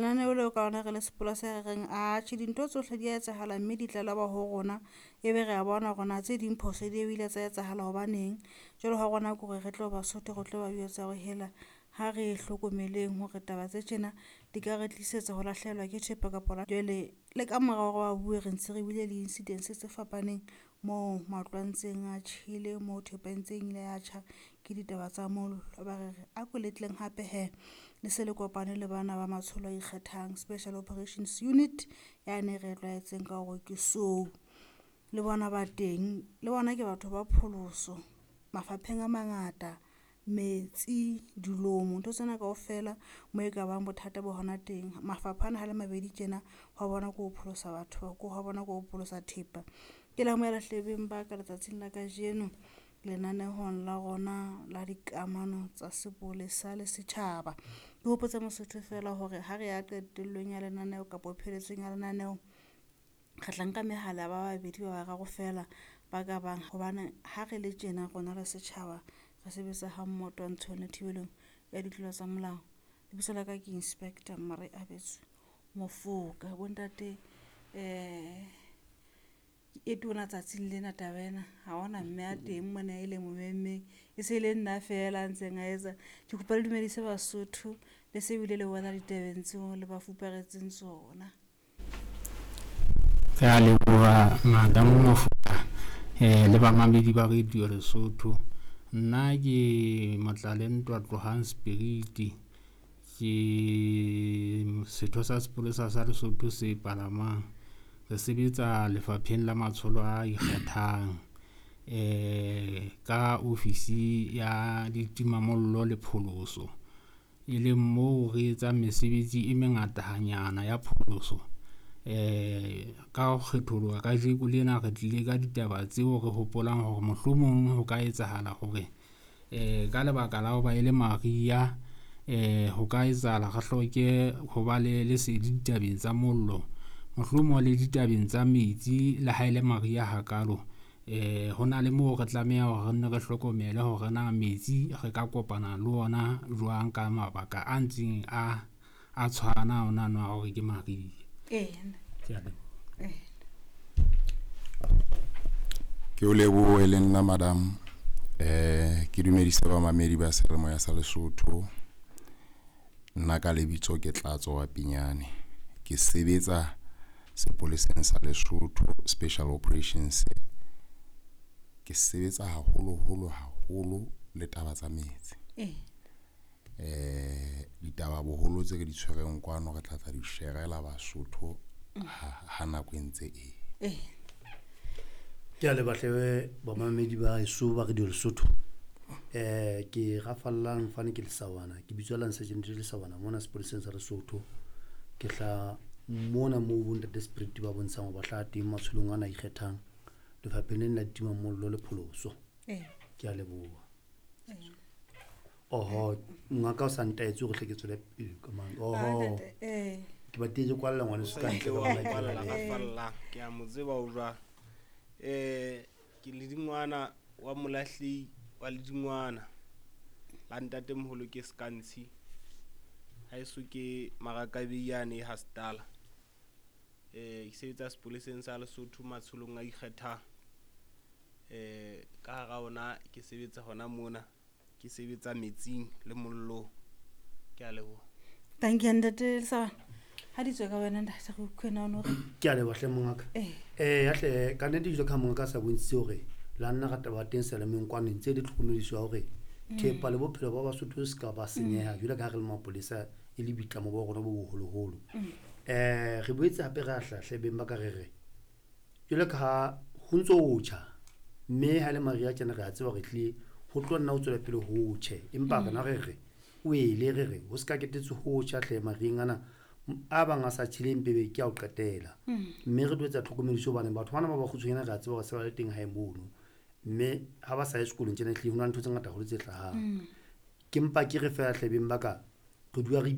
Lenaneo leo ka lona re le sepolesa re reng atjhe dintho tsohle di a etsahala mme di tlalewa ho rona, ebe re a bona hore na tse ding phoso di ile tsa etsahala hobaneng. Jwale ha rona ke hore re tlo Basotho re tlo ba jwetsa hore hela ha re hlokomeleng hore taba tse tjena di ka re tlisetsa ho lahlehelwa ke thepa kapa jwale le ka mora hore ba bue re ntse re bile le incidents tse fapaneng moo matlo a ntseng a tjhele, moo thepa e ntseng ile ya tjha ke ditaba tsa mollo. Ba re re a ko letleng hape hee le se le kopane le bana ba matsholo a ikgethang, Special Operations Unit yane e re tlwaetseng ka hore ke SOU. Le bona ba teng le bona ke batho ba pholoso mafapheng a mangata, metsi, dilomo ntho tsena kaofela moo e kabang bothata bo hona teng. Mafapha ana ha le mabedi tjena hwa bona ke ho pholosa batho hwa bona ke ho pholosa thepa. Ke le amohela hle beng ba ka letsatsing la kajeno lenanehong la rona la dikamano tsa sepolesa le setjhaba. Ke hopotse Mosotho feela hore ha re ya qetellong ya lenaneo kapa pheletsong ya lenaneo, re tla nka mehala ba babedi ba bararo feela ba ka bang hobane ha re le tjena rona le setjhaba re sebetsa ha mmoho twantshong le thibelong ya ditlolo tsa molao. Lebitso la ka ke Inspector Mmareabetswe Mofoka. Bo ntate e tona tsatsing lena taba ena, ha hona mme a teng mona e le mo memmeng e se le nna feela a ntseng a etsa. Ke kopa le dumedise Basotho le se bile le wela ditabeng tseo le ba fuparetseng tsona. Re a leboha Madam Mofoka le bamamedi ba Radio Lesotho. Nna ke Motlalentwa Tlohang Spirit, ke setho sa sepolesa sa Lesotho se palamang. Re sebetsa lefapheng la matsholo a ikgethang ka ofisi ya ditimamollo le pholoso, e leng moo re etsang mesebetsi e mengatanyana ya pholoso. Ka ho kgetholoha kajeko lena re tlile ka ditaba tseo re hopolang hore mohlomong ho ka etsahala hore ka lebaka la hoba e le mariha ho ka etsahala re hloke ho ba le lesedi ditabeng tsa mollo, mohlomong le ditabeng tsa metsi le ha ele mariha hakalo. Ho na le moo re tlameha hore re nne re hlokomele hore na metsi re ka kopana le ona jwang ka mabaka a ntseng a tshwana ona no a hore ke mariha. Ke a leboha. Ke o lebohe le nna madam, ke dumedise bamamedi ba seyalemoya sa Lesotho. Nna ka lebitso ke Tlatso wa Pinyane, ke sebetsa sepoleseng sa Lesotho Special Operations. Ke sebetsa haholoholo haholo le taba tsa metsi. Ditaba boholo tse re di tshwereng kwano re tla tla di sherela Basotho ha nako e ntse e. Ke a leboha hle bamamedi ba heso ba Radio Lesotho. Ke rafallang fane ke Lesawana, ke bitswa Lance Sergeant Lesawana mona sepoleseng sa Lesotho. Ke hla mona moo bo ntate Spirit ba bontshang hore ba hlaha teng matsholong ana a ikgethang lefapheng lena la ditimamollo le pholoso. Ke a leboha. Oho, ngaka o sa ntaetse hore hle ke tswele pele ka mang. Oho. Ntate, Ke batlile ke kwalla ngwaneso ka ntle ka Wa bona ke kwalla, le. rafallang. Ke a mo tseba o jwang. Ke ledingwana wa molahlehi wa ledingwana la ntatemoholo ke Skantshi. Haeso ke Marakabei yane e Hastala. Ke sebetsa sepoleseng sa Lesotho matsholong a ikgethang. Ka hara ona ke sebetsa hona mona, ke sebetsa metsing le mollong. Ke a leboha. Thank you ntate Lesawana. Ha di tswe ka wena ntate re utlwe na o no re. Ke a leboha hle mongaka. Ya hle ka nnete jwalo ka mongaka a sa bontshitse hore la nna ra taba teng seyalemoyeng kwano ntse le tlhokomediso ya hore thepa le bophelo ba Basotho se ka ba senyeha jwalo ka ha re le mapolesa e le boitlamo ba rona bo boholoholo. Re boetse hape re a hlahle beng ba ka re re jwalo ka ha ho ntso ho tjha, mme ha le mariha tjena re a tseba hore ehlile ho tlo nna ho tswela pele ho tjhe, empa rona re re o ele re re ho se ka ketetse ho tjha hle mariheng ana a bang a sa tjheleng pebe ke a ho qetela. Mme re tlo etsa tlhokomediso hobane batho bana ba bakgutshwanyane re a tseba hore se ba le teng hae mono, mme ha ba sa ye sekolong tjena ehlile ho na le ntho tse ngata haholo tse hlahang. Ke mpa ke re feela hle beng ba ka re dula re